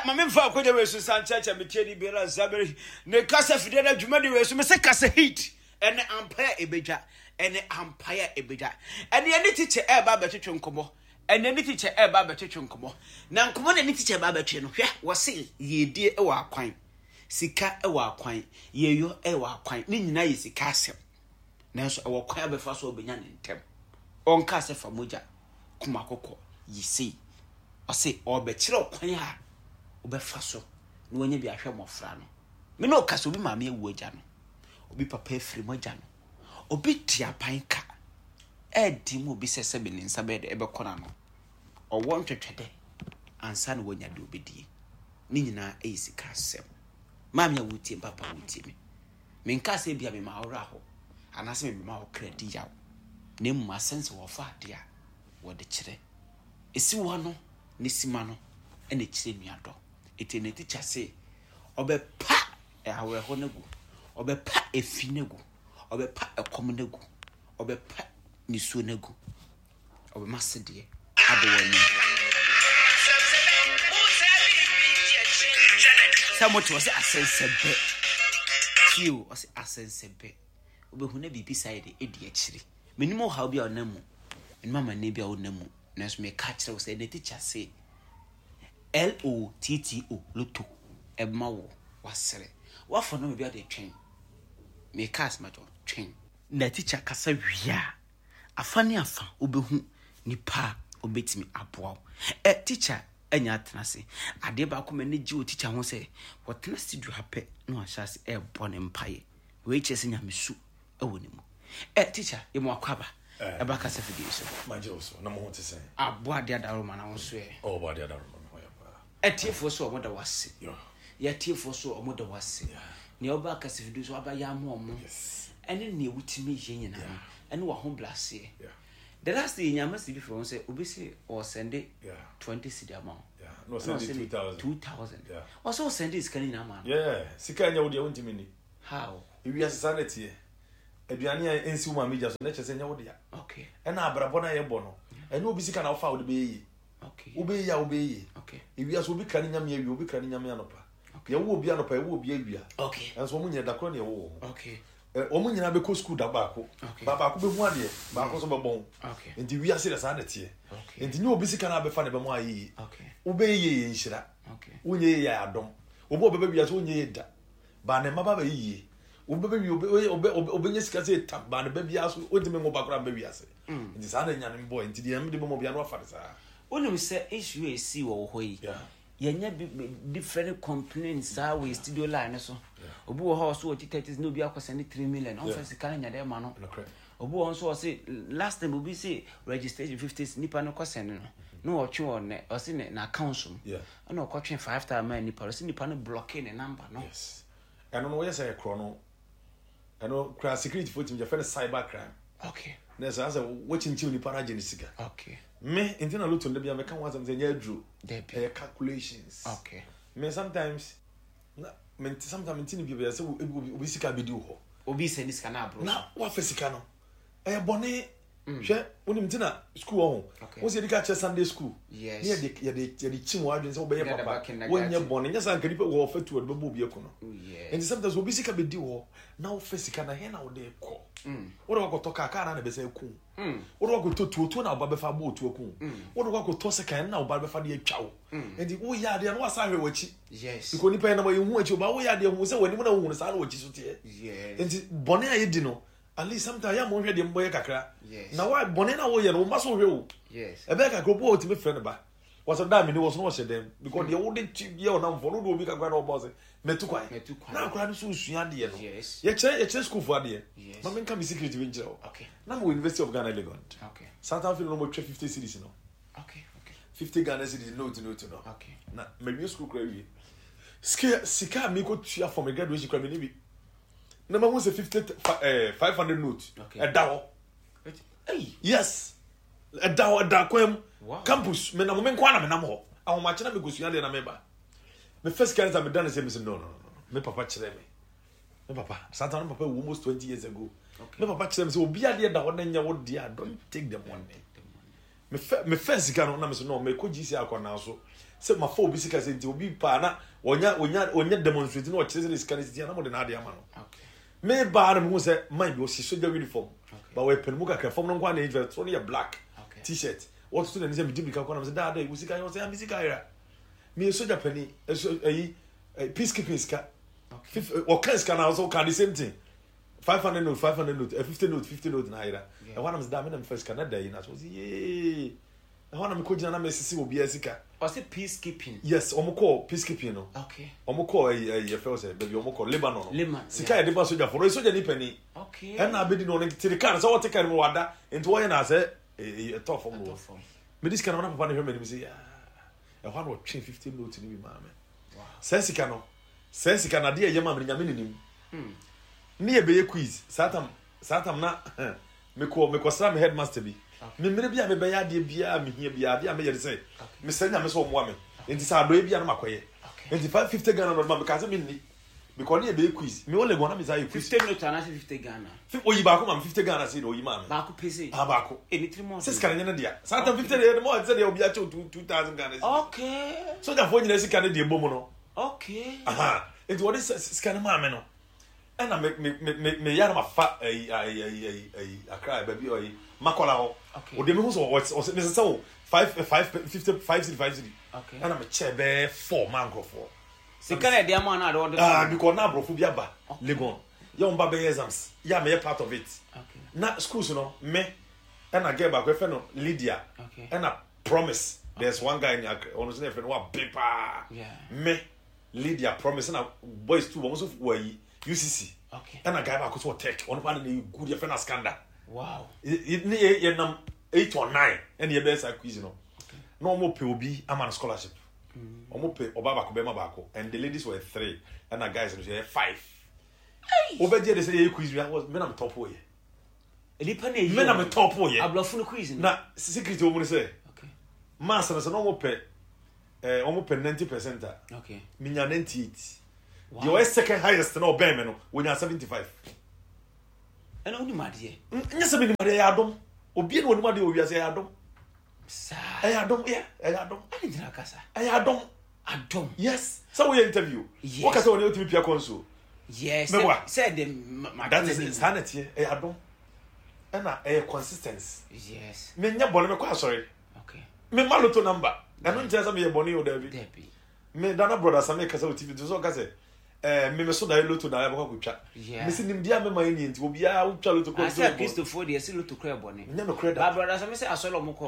Ɛ ma memfa akonya wei so nsan kyerɛkyerɛ me tieni biara Zaberi ne kasa fidie no dwumadi wei so. Mese kasa heat ɛne ampae a ɛbɛdwa ɛne ampae a ɛbɛdwa. Ɛne ɛne teacher ɛreba abɛtwetwe nkɔmmɔ. Ɛne ɛne teacher ɛreba abɛtwetwe nkɔmmɔ. Na nkɔmmɔ na ɛne teacher ɛreba abɛtwe no, hwɛ, wɔse yiedie wɔ akwan, sika wɔ akwan, yieyɔ wɔ akwan, ne nyinaa yɛ sika asɛm. Nanso ɛwɔ kwan a bɛfa so a wobɛnya ne ntɛm. Ɔnkaa sɛ fa mogya kum akokɔ, yi sei. Ɔse ɔrebɛkyerɛ wo kwan a wobɛfa so na wanya bi ahwɛ mmɔfra no. Me ne wo kasa, obi maame awu agya no, obi papa afiri mu agya no, obi te aban ka ɛɛdi mu obi sɛ sɛbe ne nsa bɛyɛ dɛ ɛbɛkɔ n'ano. Ɔwɔ ntwɛtwɛdɛ ansa na wanya deɛ ɔbɛdie. Ne nyinaa ɛyɛ sika asɛm. Maame a wotie me, papa a wotie me, Menkaa sɛ ebia mema wo werɛ ahow anaasɛ mebɛma wo kra adi yaw, na mmom asɛm sɛ wɔfa ade a wɔde kyerɛ. Esiw ano ne sima no na ɛkyerɛ nuadɔ. Enti na tikya se ɔbɛpa awerɛhow no agu, ɔbɛpa efi no agu, ɔbɛpa ɛkɔm no agu, ɔbɛpa nisuo no agu. Ɔbɛma sedeɛ abɔ w'anim. Sɛ mote ɔsɛ asɛnsɛbɛ. Tie o, ɔsɛ asɛnsɛbɛ. Wobɛhu na biribi saa yɛ de ɛdi akyire. Menim ɔhaw bi a ɔnam mu. Menim amanneɛ bi a wonam mu. Nanso meka kyerɛ wo sɛ ɛnɛ tikya se L-O-T-T-O, loto, ɛbɛma wo wasere. Woafa nɔma bi ade twɛn. Meka asɛm akyerɛ wo, twɛn. Na tikya kasa wie a, Afa ne afa wobɛhu nipa a ɔbɛtumi aboa wo. Ɛ tikya anya atena ase. Adeɛ baako m'ani gye wɔ tikya ho sɛ wɔtena studio ha pɛ na wahyɛ ase ɛrebɔ ne mpaeɛ. Wei kyerɛ sɛ nyamesu wɔ ne mu. Ɛ tikya yɛ mu akɔ aba ɛba kasa fidie so. Magye wo so na mo ho te sɛn? Abɔ adeɛ adaworoma na wo nso ɛ? Oh, bɔ adeɛ adaworoma me ho yɛ paa. Atiefoɔ so wɔn da wo ase. Yɛ atiefoɔ so wɔn da wo ase. Nea ɔba akasafidie so aba yɛ ama wɔn. Ɛne nea wotumi yɛ nyinaa no. Ɛne w'ahobrɛaseɛ. The last day yɛnya message bi firi wɔn sɛ obi se ɔresɛnde 20 cedi ama wo. Na ɔsɛnde 2000. 2000. Ɔsɛ ɔsɛnde sika no nyinaa ma no. Yeah, sika ɛnyɛ wo deɛ wontumi nni. How? Ewiase saa na ɛteɛ. Aduane a ɛnsi wo maame gya so na ɛkyerɛ sɛ ɛnyɛ wo dea. Okay. Ɛna abrabɔ no a yɛbɔ no, ɛnyɛ obi sika na wofa a wode bɛyɛ yie. Wobɛyɛ yie a wobɛyɛ yie. Ewiase obi kra ne nyame awia, obi kra ne nyame anɔpa. Yɛwo obi anɔpa, yɛwo obi awia. Nanso wɔn nyinaa da korɔ na yɛwo wɔn. Wɔn nyinaa bɛkɔ sukuu da baako. Ba baako bɛhu adeɛ, baako nso bɛbɔn. Nti wiase deɛ saa na ɛteɛ. Nti nyɛ obi sika na abɛfa na ɛbɛma ayɛ yie. Wobɛyɛ yie yɛ nhyira. Wonyɛ yie yɛ adom. Obi a ɔbɛba wiase ɔnyɛ yie da. Ba ne mma ba bɛyɛ yie. Obi bɛbɛ wie obe obe obɛnya sika sɛ tam ba ne ba biara so ɔntumi nwo ba koraa mba wiase. Nti saa na Nyame bɔɔ nti deɛ Nyame de bɛma obiara no wafa no saa. Wonim sɛ issue a ɛsii wɔ wo hɔ yi, yɛnya bi different complaints saa wɔ studio line no so. Obi wɔ hɔ a ɔso ɔgye 30 na obi akɔ sɛne 3 million, ɔmfa sika no nya dɛ ma no. Obi wɔ hɔ nso ɔse last time obi se registration 50 nipa no kɔ sɛne no na ɔtwe wɔ ne ɔse ne na account mu. Ɛna ɔkɔtwe 5000 maa nipa no, ɔse nipa no blocke ne number no. Yes. Ɛno no wɔyɛ sɛ ɛkorɔ no ɛno kura security fo tumi yɛfrɛ no cyber crime. Okay. Na ɛsɛ sɛ wɔkyinkyim nipa no agye ne sika. Okay. Me nti na loto no bia meka ho asɛm sɛ ɛnyɛ aduro. Dabi. Ɛyɛ calculations. Okay. Me sometimes na me nti sometimes nti ne bi bɛyɛ sɛ obi obi sika bɛdi wɔ hɔ. Obi sɛ ne sika na aboro. Na wafa sika no. Ɛyɛ bɔne. Hwɛ, wonim nti na school wɔ ho. Wo sɛ yɛde ka kyerɛ Sunday school. Yes. Ne yɛde yɛde yɛde kyim wɔ adwene sɛ wobɛyɛ Yɛde papa. ba kindergarten. Wonyɛ bɔne. Nyɛ saa nka nipa wɔ ɔfɛ tu ɔde bɛbɔ obi aku no. Oh, yes. Nti sometimes obi sika bɛdi hɔ na wofɛ sika na hɛn na wode kɔ. Wode wakɔtɔ kaa kaa na na ɛbɛsɛ aku. Wode wakɔtɔ tuo tuo na ɔba bɛfa abɔ otuo aku. Wode wakɔtɔ sekan na ɔba bɛfa de atwa wo. Nti woyɛ adeɛ na wasa ahwɛ w'akyi. Yes. Because nipa yɛ nam yɛhu akyi ɔba woyɛ adeɛ hu sɛ w'anim na wohu no saa na w'akyi so teɛ. Yes. Nti bɔne a yɛdi no At least sometimes yɛ a monhwɛ deɛ mobɛyɛ kakra. Yes. Na wa bɔne na woyɛ no wo mma so hwɛ o. Yes. Ɛbɛyɛ kakra obi wɔ otumi frɛ ne ba. Wɔsɛ da mene wɔ so na wɔhyɛ dɛm because deɛ wode ti yɛ ɔnamfoɔ no wode obi kakra na ɔbɔ sɛ mɛtu kwan. Mɛtu kwan. Na akora no so sua adeɛ no. Yes. Yɛkyerɛ yɛkyerɛ sukuufoɔ adeɛ. Yes. Ma menka me secret bi nkyerɛ wo. Okay. Na mewɔ University of Ghana Legon. Okay. South Africa no wɔtwa 50 cedis no. Okay. Okay. 50 Ghana cedis note note no. Okay. Na mawie sukuu kora wie. Sika sika a mekɔtua for me graduation kora menni bi. na mahu sɛ 50 eh, 500 note ɛda hɔ yes ɛda hɔ ɛda kwan mu campus menam me nkoa na menam hɔ ahomakye na mekɔsua deɛ na meba me first kind sɛ meda ne sɛ mesi no no no me papa kyerɛ me me papa satan me papa wu almost 20 years ago me papa kyerɛ me sɛ obi adeɛ da hɔ na nyɛ wo deɛ don't take the money me fɛ sika no na me sɛ no mekɔ gc akɔ naa so. Sɛ mafa obi sika sɛ nti obi paa na ɔnya ɔnya ɔnya demonstrate na ɔkyerɛ sɛ ne sika no sisi a na mode n'ade ama no. Me baa na mehu sɛ man bi ɔhyɛ sogya uniform. Ba wɔyɛ panimu kakra fam no nko ara na ɛyɛ soro no yɛ black t-shirt. Wɔtoto n'ani sɛ medi mirika kɔ na mesɛ daa dɛ wo sika yɛ ɔsɛ me sika yera. Meyɛ sogya panin ɛso ɛyi peacekeeping sika. Ɔka sika na ɔsɛ ɔka the same thing. 500 note 500 note 50 note 50 note na ayera. Ɛhɔ na mesɛ daa me na mefa sika na da yi na so ɔsɛ yee. Ɛhɔ na mekɔ gyina na mesisi obiara sika. Ɔse peace keeping. Yes, wɔn kɔɔ peace keeping no. Okay. Wɔn kɔɔ ɛyi ɛyi yɛfrɛ wɔ sɛ baabi wɔn kɔ Lebanon no. Lebanon. Sika yɛde ba sogyafo no, ɔyɛ sogyani panin. Okay. Ɛna abedi no ɔno tiri kaa no sɛ ɔte kaa no mu wada nti wɔyɛ na asɛ ɛyi ɛtɔ fam no. Mede sika no na papa no hwɛ m'anim sɛ yaa ɛhɔ na ɔtwe 50 note no bi maa me. Saa sika no, saa sika no adeɛ ɛyɛ maa me no nyame ne nim. Ne yɛ bɛyɛ quiz saa tam saa tam na Mekɔ mekɔsra me headmaster bi. Me mmerɛ bi a mebɛyɛ adeɛ biara a mehia biara adeɛ a meyɛ ne sɛ mesrɛ Nyame sɛ ɔmmoa me. Nti sɛ adɔeɛ bi a na makɔyɛ. Nti 550 Ghana na ɔde ma me mekaa sɛ menni. Because ne yɛbɛyɛ quiz. Me wɔ Legon na mesan yɛ quiz. 50 note anaasɛ 50 Ghana? Oyi baako ma me 50 Ghana sei na oyi maa me. Baako pɛ sei? Ah baako. Eh ne tirim ɔden. Sɛ sika no nyɛ ne dea. Saa tam 50 deɛ ɛde sɛ deɛ obi akyɛw 2000 Ghana cedis. Okay. Sogyafoɔ nyinaa sika ne deɛ bɔ mu no. Okay. Aha. Nti wɔde sika no maa me no. Ɛna me me me me me yɛ na ma fa ɛyi ɛyi ɛyi ɛyi ɛyi akra baabi ɛyi makɔla hɔ. Okay. Ɔde mi ho sɛ ɔsɛ ɔsɛ mesesa o five five fifty five cedi five cedi. Okay. Ɛna me kyɛ bɛɛ four maa nkorɔfoɔ. Sika na ɛde ama na ade ɔde. Ah because na aborɔfo bi aba Legon yɛ wɔn ba bɛyɛ exams yɛ a meyɛ part of it. Okay. Na schools no me ɛna girl baako ɛfɛ no Lydia. Okay. Ɛna Promise there's one guy in Accra ɔno nso na ɛfɛ no wa be paa. Yeah. Me. Lydia promise na boys too wɔn nso wɔ ayi UCC okay ɛna guy baako so wɔ tech ɔno paa ne ne good yɛfrɛ no Askanda wow ne yɛ yɛ nam eight or nine ɛna yɛbɛyɛ saa quiz no na wɔn pɛ obi ama no scholarship wɔn pɛ ɔbaa baako bɛrima baako and the ladies were three ɛna guys no so yɛ five wobɛgye de sɛ yɛyɛ quiz bi me na me top yɛ nipa na eyi me na me top yɛ aborɔfo no quiz no na secret wɔ mu no sɛ okay mass no sɛ na wɔn pɛ eh, wɔn pɛ 90 percent a okay. menya 98 deɛ ɔyɛ second highest na ɔbɛn me no wɔnya 75 ɛna wonim adeɛ nyɛ sɛ menim adeɛ ɛyɛ adom obie na ɔnim adeɛ wɔ wiase ɛyɛ adom saa ɛyɛ adom yɛ ɛyɛ adom ɛne gyina kasa ɛyɛ adom adom yes sɛ woyɛ interview yes. woka sɛ wɔne wotumi pia kɔnsuo yes mɛboa sɛ de that is saa na ɛteɛ ɛyɛ adom ɛna ɛyɛ consistence yes menyɛ bɔne mɛkɔ asɔre Okay. Me ma lotto number. Ɛno nkyerɛ sɛ meyɛ bɔne o daabi. Dabi. Me dana brother Sami kasa wɔ TV to sɛ ɔka sɛ eh, me me so daeɛ lotto daeɛ bɛkɔ akɔtwa. Yeah. Me se nimdeɛ a mema yɛ nie nti obiara wotwa lotto kɔ Asɛ Kristofoɔ deɛ ɛsɛ lotto kora ɛbɔne. Nyɛ nokorɛ da. Ba brother Sami sɛ asɔre ɔmo kɔ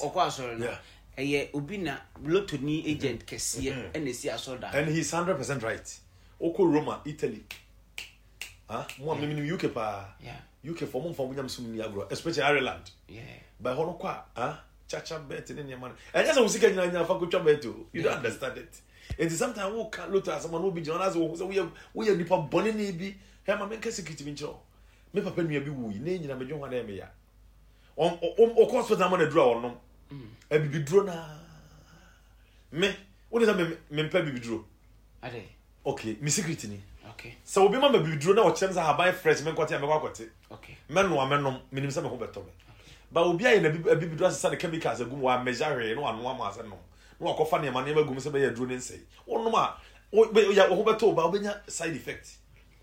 ɔkɔ asɔre no. Yeah. Ɛyɛ obi na lotto ni agent kɛseɛ ɛna esi asɔre da. And he is 100% right. Wokɔ Roma, Italy. Ah, mo a menim UK paa. Yeah. UK fo mo mfa mo nyamesom nni agorɔ especially Ireland. Yeah. Ba hɔ no kɔ a, ah, chacha bet ne nneɛma no. Ɛnyɛ sɛ wo sika nyinaa nyinaa fa kɔtwa bet o. You don't understand it. Nti sometimes wo ka lotto asɛm a na obi gyina hɔ na asɛ wɔhu sɛ woyɛ woyɛ nipa bɔne ne bi. Hɛ ma menka secret bi nkyerɛ wo. Me papa nua bi wui ne nyina medwen ho a na ɛyɛ me ya. Ɔkɔ hospital ama no aduru a ɔnom. Abibiduro naa. Me, wo ne sɛ me mempɛ abibiduro. Ade. Okay, me secret ni. Okay. Sɛ obi ma ma bibiduro na ɔkyerɛ me sɛ ahaban fresh me nkɔte a mɛkɔ akɔte. Okay. Mɛnoa mɛnom, menim sɛ me ho bɛtɔ me. Ba obi ayɛ na abibiduro asesa ne chemicals agu mu, wammɛgya hwee na wanoa ma asɛ nom. Na wakɔfa nneɛma nneɛma agu mu sɛ bɛyɛ aduro ne nsɛe. Wonom a, wo ho bɛtɔ wo ba wobɛnya side effect.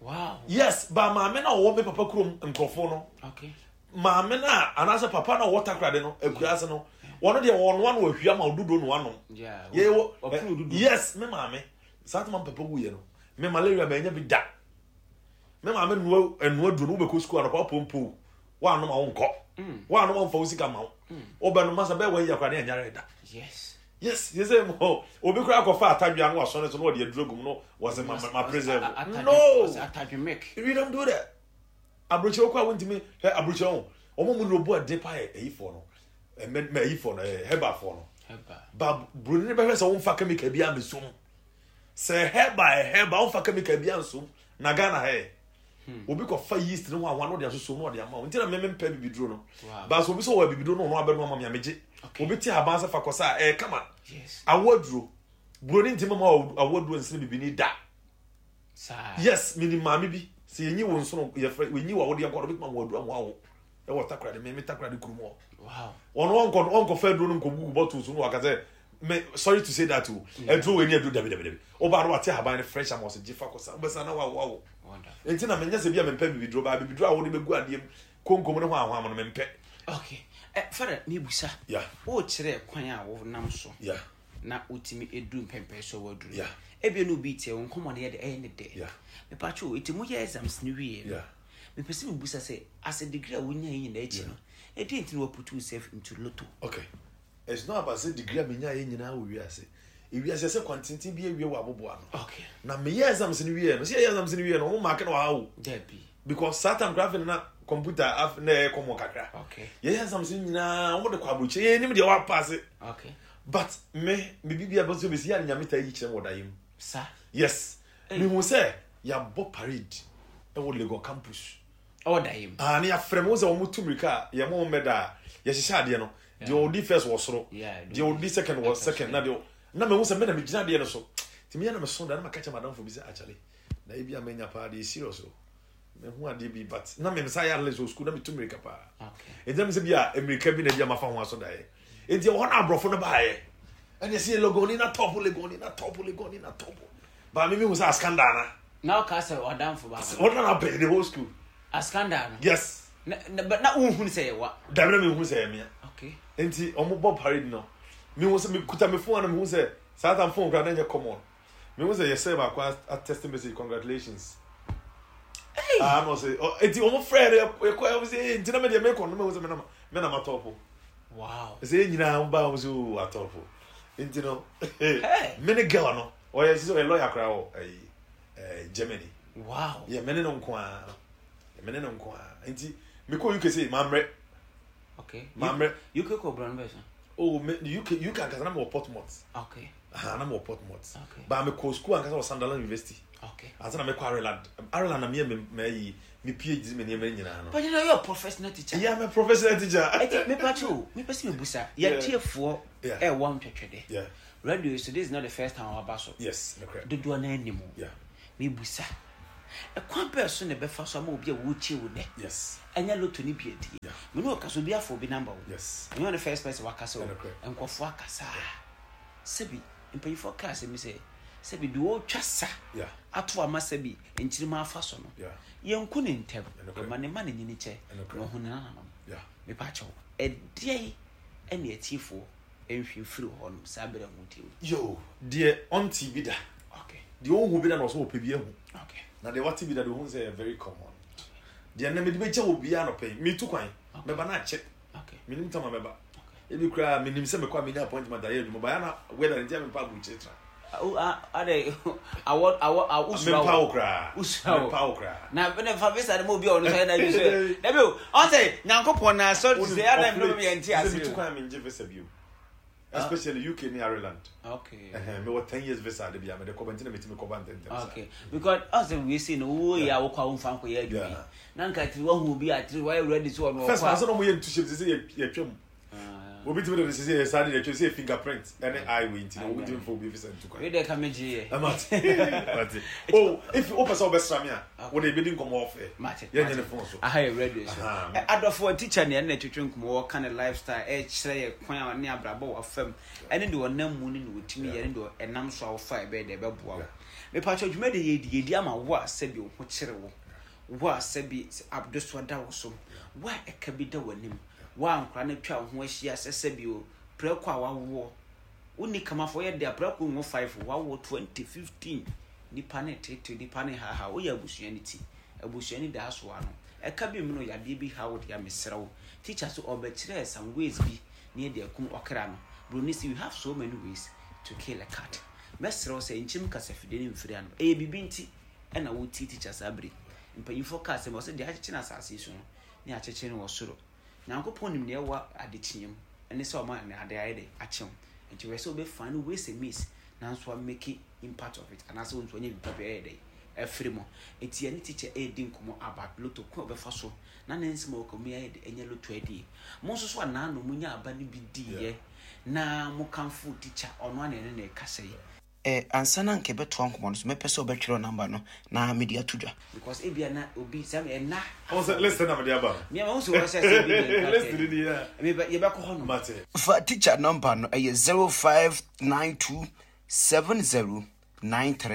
Wow. Yes, ba maame na ɔwɔ me papa kurom nkurɔfoɔ no. Okay. Maame no a anaasɛ papa no a ɔwɔ takoradi no akuraase no wɔn deɛ wɔnoa no wɔhwia ma odudo no anom. Yeah. Yɛwɔ yes me maame saa tuma papa wuyɛ no me malaria ma ɛnya bi da me maame noa ɛnoa duro no wobɛkɔ sukuu anɔpa pompo wɔanom a wonkɔ wɔanom a womfa wo sika ma wo wobɛnom masa bɛyɛ wɔn yɛ koraa ne anyare da. Yes. Yes, yɛ sɛ mo obi koraa akɔfa atadwe ano asɔne so na ɔde aduro gum no wɔsɛ ma ma preserve. No. Atadwe We don't do that. Aburokyerɛ kɔ a wontumi hwɛ aburokyerɛ ho wɔn mu no bu ade pa yɛ ayifoɔ no ɛmɛ mɛ ayifoɔ no ɛɛ herbalfoɔ no ba buroni no bɛhwɛ sɛ wɔnfa chemical bi amesom sɛ herbal ɛ herbal wɔnfa chemical bi ansom na Ghana ha yɛ obi kɔ fa yeast ne ho ahoa na ɔde asosom na ɔde ama wo nti na mɛmɛ mpɛ bibiduro no baasa obi sɛ ɔwɔ bibiduro no ɔno abɛno ama mi amegye obi te aban sɛ fa kɔ sa ɛyɛ kama awo aduro buroni ntumi ma awo aduro nsene bibini da. Saa. Yes, menim maame bi, sɛ yɛnyi wo nsono, yɛfrɛ, yɛnyi wo awodeɛ nkɔ no, obɛtumi ama aduro ama awo. Ɛwɔ Takoradi, me me Takoradi kurom hɔ. Wow. Ɔno ɔnkɔ ɔnkɔfa aduro no nkɔgugu bottle so no waka sɛ Me sorry to say that o. Aduro wei ne aduro dabi dabi dabi. Ɔbaa no wate ahaban no fresh ama ɔsɛ gye fa kɔsa. Wobɛsa na wawo awo. Nti na menyɛ sɛ bi a mempɛ bibiduro baa bibiduro a wode bɛgu adeɛ mu konkom ne hwanhwam no mempɛ. Okay. Eh, Father, mebusa. Yeah. Wokyerɛ kwan a wonam so. Yeah. Na wotumi eduru mpɛmpɛn so waduru. Yeah. Ebia na obi tie wo nkɔmmɔ no yɛ de ɛyɛ ne dɛ. Yeah. Mepatwo, eti moyɛ exams no wie no. Yeah. Mepɛ sɛ mebusa sɛ as a degree a wonya yi nyinaa akyi no, ɛdeɛn nti na woaput yourself into lotto? Okay. It's not about sɛ degree a menyaeɛ nyinaa wɔ wiase. Ewiase ɛsɛ kwantenten bi awie wɔ aboboa ano. Okay. Na meyɛ exams no wieɛ no, sɛ yɛyɛ exams no wieɛ no, wɔn mark no wɔ ha o. Dabi. Because saa time koraa afei na computer afei na ɛyɛ common kakra. Okay. Yɛyɛ exams no nyinaa, wɔn de kɔ aburokyire, yɛn nim deɛ wɔapaase. Okay. But me, me bibi abɔ nso besi yɛ a nyame taa yi kyerɛ me wɔ daeɛ mu. Sa. Yes. Mehu sɛ yɛabɔ parade ɛwɔ Legon campus. Ɔwɔ daeɛ mu. Ah, ne yɛafrɛ me, wohu sɛ wɔn tu mmirika a, yɛn mo mmɛda a, yɛhyehyɛ adeɛ no, deɛ ɔdi first wɔ soro, deɛ ɔdi second wɔ second, na deɛ na mehu sɛ me na megyina adeɛ no so. Nti meyɛ na meso da na maka kyerɛ madamfo bi sɛ akyale, na ebi a manya paa deɛ serious o. Mehu adeɛ bi but na me nsa yɛ athlete wɔ school na metu mmirika paa. Nti na me sɛ bi a mmirika bi na bi a mafa ho aso daeɛ. Nti ɛwɔ hɔ na aborɔfo no baeɛ. Ɛna ɛsɛ Legoni na top, Legoni na top, Legoni na top. Ba me mehu sɛ askanda na. Na ɔka sɛ ɔdamfo baako. Ɔno na bɛn the whole school. Askanda no. Yes. Na na na wohu sɛ yɛ wa. Dabi na mehu sɛ yɛ mea. Okay. Nti ɔmo bɔ parade no. Mehu sɛ mekuta me phone na mehu sɛ saa time phone koraa na ɛnyɛ common. Mehu sɛ yɛsɛ baako a text message congratulations. Hey. Ah no sɛ nti ɔmo frɛ no yɛkɔ ɔmo sɛ nti na me deɛ mekɔ no mehu sɛ me na me na matɔpo. Wow. Sɛ yɛn nyinaa ɔmo ba ɔmo sɛ o atɔpo. Nti no me ne girl no ɔyɛ sɛ ɔyɛ lawyer koraa wɔ ɛyi ɛɛ Germany. Wow. Yɛ me ne no nko ara me ne no nko ara nti mekɔ UK sɛ mammerɛ. Okay. Mammerɛ. UK kɔ brand bɛsa. Oh me UK UK ankasa na mewɔ Portsmouth. Okay. Aha na mewɔ Portsmouth. Okay. Ba mekɔ school ankasa wɔ Sunderland University. Okay. Ansa na mekɔ Ireland. Ireland na meyɛ me mɛyi me PhD me nneɛma nyinaa no. But you know you're a professional teacher. Yeah, I'm a professional teacher. Eti me pa cho, me pɛ sɛ mebusa. Yɛtiefoɔ Yeah. ɛwɔ ntwɛtwɛdɛ. Yeah. Radio so this is not the first time waba so. Yes, nokorɛ. Dodoɔ no anim. Yeah. Mebusa. Ɛkwan bɛɛ so na ɛbɛfa so ama obi a wɔretie wo nɛ. Yes. Ɛnyɛ lotto ne bi adie. Yeah. Me ne ɔka so obi afa obi number wo. Yes. Ɛnyɛ ɔne first person wakasa o. Ɛnokorɛ. Nkurɔfoɔ akasa. Sɛbi mpanyinfoɔ kaa asɛm bi sɛ sɛbi deɛ ɔretwa sa Yeah. ato ama sɛbi nkyirima afa so no. Yeah. Yɛnku ne ntɛm. Ɛnokorɛ. Yɛma ne ma ne nyini kyɛ. Ɛnokorɛ. Na ɔhu ne nananom. Yeah. Mepa kyɛw. Ɛdeɛn ɛne atiefoɔ nhwe mfiri hɔ nom saa berɛ a wɔtie wo? Yo, deɛ ɔnte bi da. Okay. Deɛ ɔnhu bi da na ɔsɛ ɔpɛ bi ahu. Okay. Na deɛ wate bi da deɛ ɔhu sɛ ɛyɛ very common. Deɛ nnɛ mede bɛgya wɔ biara anɔpa yi, metu kwan, mɛba na akyɛ. Okay. Menim tam a mɛba. Okay. Ebi koraa menim sɛ mekɔ a menya appointment ayɛ adwuma, but na weather nti a mempa aburukyire tra. Ade awɔ awɔ awɔ usura Mempa wo koraa. Usura wo. Mempa wo koraa. Na ne fa visa no ma obi a ɔno nso ayɛ n'adwene sɛ dabi o ɔn sɛ Nyankopɔn na asɔre ti sɛ ɛna mmerɛ mu yɛn ti ase Metu kwan a mengye visa bio. Especially UK ne Ireland. Okay. Ɛhɛn, mewɔ 10 years visa de bia mede kɔba nti na metumi kɔba ntɛntɛm saa. Okay. Because ɔn sɛ wei sei no wo yɛ a wokɔ a womfa nkɔyɛ adwuma yi. Na nka tiri wahu obi a tiri wayɛ ready so ɔno First ɔkɔ man a. sɛ na ɔmo yɛ ntuhyɛm sɛ sɛ yɛtwam. Ah. Obi tumi de ne sɛ yɛ saa de yɛtwam sɛ yɛ fingerprint ɛne eye wei nti na obi tumi fa obi visa ntu kwan. Wei deɛ ka megye yɛ. Mate. Mate. Oh, if wopɛ sɛ wobɛsra me a, wo de yɛbɛdi nkɔmmɔ off air. Mate. Yɛnyɛ ne phone so. Aha yɛ radio so. Aha. Adɔfoɔ teacher ne ɛne na ɛtwetwe nkɔmmɔ wɔka ne lifestyle ɛkyerɛ yɛ kwan a ne abrabɔ wɔ fam ɛne deɛ ɔnam mu ne deɛ ɔtumi yɛ ne deɛ ɛnam so a wofa ɛbɛyɛ deɛ ɛbɛboa wo. Mepatwɛ dwuma de yɛdi yɛdi ama wo a sɛbi wo ho kyere wo wo a sɛbi adesoa da wo so wo a ɛka bi da w'anim wo a nkora no atwa wo ho ahyia sɛ sɛbi o prɛko a wawoɔ wonni kamafo yɛ de a prɛko nwo 5 wawoɔ 2015 nipa ne tete nipa ne haha woyɛ abusua no ti abusua no da asoa no ɛka bi mu no yadeɛ bi ha wo deɛ mesrɛ wo teacher so ɔbɛkyerɛ some ways bi ne yɛde akum ɔkra no broni sɛ we have so many ways to kill a cat mɛsrɛ wo sɛ nkyem kasafidie no mfiri ano ɛyɛ biribi nti ɛna wotie teacher saa bere mpanyinfoɔ kaa sɛ ɔsɛ deɛ akyekyere no asase yi so no ne akyekyere no wɔ soro Nyankopɔn nim nea ɛwɔ adekyeɛ mu ɛne sɛ ɔma ne ade ayɛ dɛ akye wo nti hwɛ sɛ wobɛ find ways and means nanso a make impact of it anaasɛ wo nso anya biribi papa ɛyɛ dɛ afiri mu nti yɛne teacher ɛredi nkɔmmɔ about lotto kwan a ɔbɛfa so na ne nsɛm a ɔka mu ayɛ dɛ ɛnyɛ lotto adie mo nso so anaa no mo nya aba no bi diiɛ na mo kamfo teacher ɔno ana ɛne na ɛkasa yi. Eh, ansa na anka yɛbɛtoa nkɔmmɔ no so, mɛpɛ sɛ wobɛtwerɛ number no na mede ato dwa. Because ebia na obi sɛ ɛna. Ɔn sɛ list na mede aba no. Mea mahu sɛ wɔsɛ sɛ bi deɛ List ni ni ya. Yɛbɛkɔ hɔ nom. Mate. Fa teacher number no, ɛyɛ 0592 70 93.